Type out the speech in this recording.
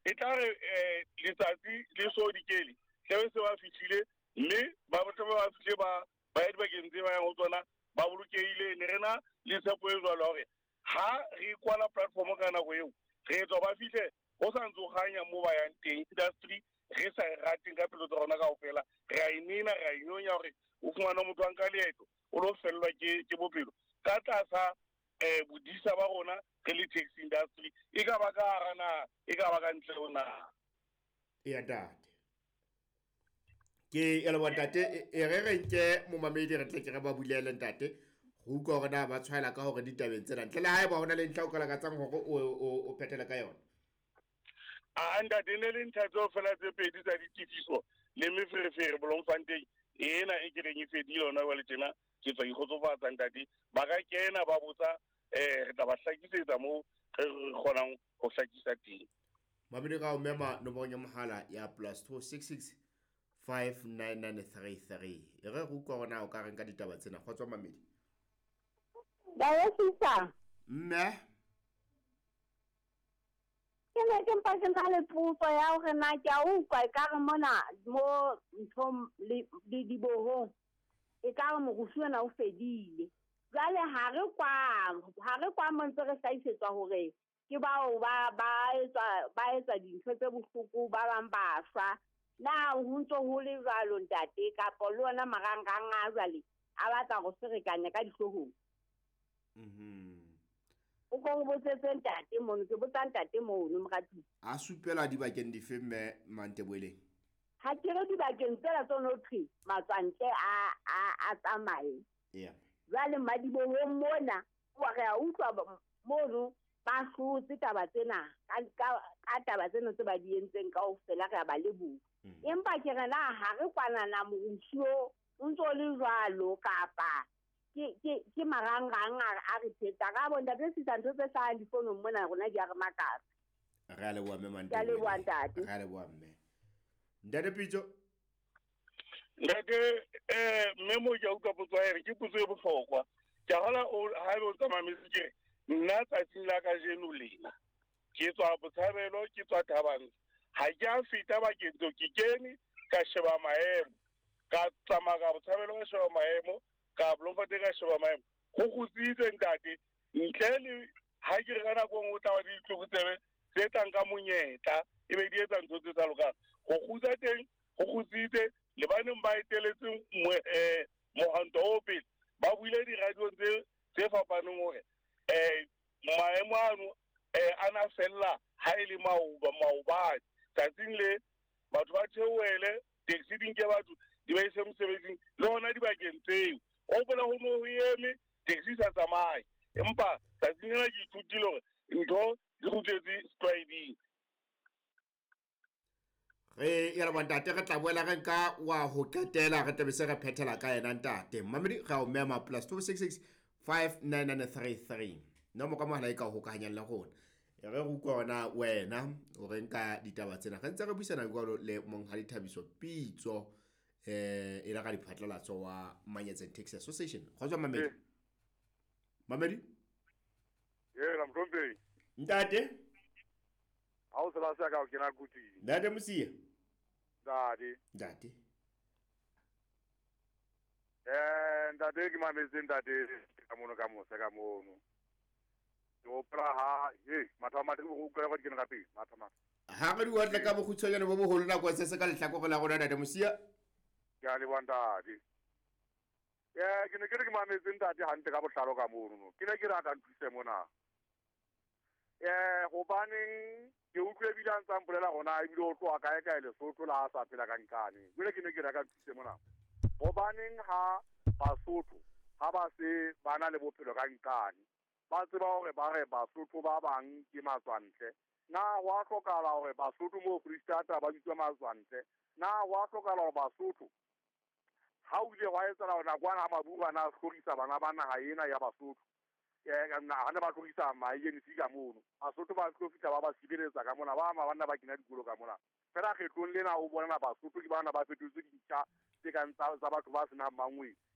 E tla re letsatsi le so dikele tlabe se ba fihlile, mme ba tlabe ba fihle ba ya dibakeng tse ba yang ho tsona ba bolokehile. Ne re na le tshepo e jwalo hore ha re kwala platform ka nako eo, re etswa ba fihle ho sa ntse ho kganya moo ba yang teng. Industry re sa e rateng ka pelo tsa rona kaofela, re a e nena, re a e nyonya hore o fumana motho a nka leeto o lo fellwa ke bophelo ka tlasa bodisa ba rona re le taxi industry, e ka ba ka hara naha, e ka ba ka ntle ho naha. Eya ntate, ke ya leboha ntate. E re re nke momamedi, re tle ke re ba bulele ntate, go utlwa hore na ba tshwaela ka hore ditabeng tsena, ntle le haeba hona le ntlha o ka lakatsang hore o phethele ka yona. A ntate, ne le ntlha tseo fela tse pedi tsa ditefiso le meferefere Bloemfontein ena e ke reng e fedile hona jwale tjena. Ke tswa ikgotsofatsa ntate, ba ka kena ba botsa, re tla ba hlakisetsa moo re kgonang ho hlakisa teng. Mamedi, ka o mema nomorong ya mohala ya +266 59933. E re re utlwa hore na o ka reng ka ditaba tsena. Kgotso mamedi. Baesisa. Mme. Ke ne ke mpa ke na le potso ya hore na ke a utlwa ekare mona mo nthong le dibohong ekare morusu ona o fedile. Jwale ha re kwa mo ntse re hlahisetswa hore ke bao ba etsa dintho tse bohloko, ba bang ba shwa. Na ho ntso ho le jwalo ntate, kapa le ona marangrang a jwale a batla go ferekanya ka dihloohong? O ko o botsetse ntate mono, ke botsa ntate mono moratuwa. A supela dibakeng dife, mme Manteboeleng? Ha ke re dibakeng tsela tse no thwe matswantle a tsamaye. Jwale madibohong mona wa re a utlwa mono ba hlotse taba tsena ka taba tsena tse ba di entseng kaofela, re a ba leboha. Empa ke re na ha re kwanana morusu o ntso le jwalo, kapa ke marangrang a re thetsa ka bo ntate sisa ntho tse hlahang difonong mona rona di a re makatsa. Re a leboha mme. Ke a leboha ntate. Re a leboha mme. Ntate Pitso. Ntate, mme mo ke a utlwa potso ya ere ke potso e bohlokwa. Ke a hola o ha ebe o tsamaya metse, ke re nna tsatsing la kajeno lena ke tswa Botshabelo, ke tswa Thabang, ha ke a feta bakeng tseo. Ke kene ka sheba maemo, ka tsamaya ka Botshabelo, ka sheba maemo, ka Bloemfontein, ka sheba maemo, go kgutsitse ntate, ntle le ha ke re ka nako e nngwe o tla ba le ditlokotsebe tse tlang ka monyetla e be di etsa ntho tse sa lokang. Go kgutsa teng go kgutsitse le ba neng ba eteletseng mohwanto o pele, ba buile di-radiong tse fapaneng hore maemo ano a na fella ha e le maoba maobane. Tsatsing le batho ba theohele taxi, di nke batho di ba ise mosebetsing le hona dibakeng tseo. O hopola ho no ho eme taxi sa tsamaye, empa tsatsing lena ke ithutile hore ntho di kgutletse setlwaeding. Re ya leboha ntate, re tla boela re nka wa ho qetela, re tlabe se re phethela ka yena ntate. Mamedi, re a o mema +266 59933, nomoro ka mohala e ka o hokahanyang le rona. E re re utlwa hona wena o re nka ditaba tsena. Re ntse re buisana jwalo le Monghadi Thabiso Pitso, e le ka diphatlalatso wa Manyetseng Taxi Association. Kgotso mamedi. Mamedi. Yena mohlomphehi. Ntate. Ha o sela se ka o kena kuting. Ntate Mosia. Ntate. Ntate. Ntate, ke mametse ntate ka mono ka mose ka mono. Ke hopola ha he matha matha ke go utlwa go di kena ka pele matha matha. Ha re di otle ka bokgutshwanyane bo boholo, nako se se ka lehlakore la rona, ntate Mosia. Ke a leboha ntate. Ke ne ke re ke mametse ntate hantle ka botlalo ka mono no. Ke ne ke re a ka nthuse mona. Hobaneng ke utlwe ebile a ntsa mpolela gona ebile o tloha kae kae Lesotho la a sa phela ka nkane. Jwale ke ne ke re a ka nthuse mona. Hobaneng ha Basotho ha ba se ba na le bophelo ka nkane, ba tseba hore ba re Basotho ba bang ke matswantle, na ho a hlokahala hore Basotho mo Freistata ba bitswe matswantle? Na ho a hlokahala hore Basotho ha o ile hwa etsahala hore nakwana ha Maburu a na a hlorisa bana ba naha ena ya Basotho, ha ne ba hlorisa ma-ANC ka mono, Basotho ba tlo fihla ba ba sireletsa ka mona, ba ama banna ba kena dikolo ka mona? Fela kgetlong lena o bonana Basotho ke bana ba fetotswe dintja tse kang tsa batho ba senang mangwele.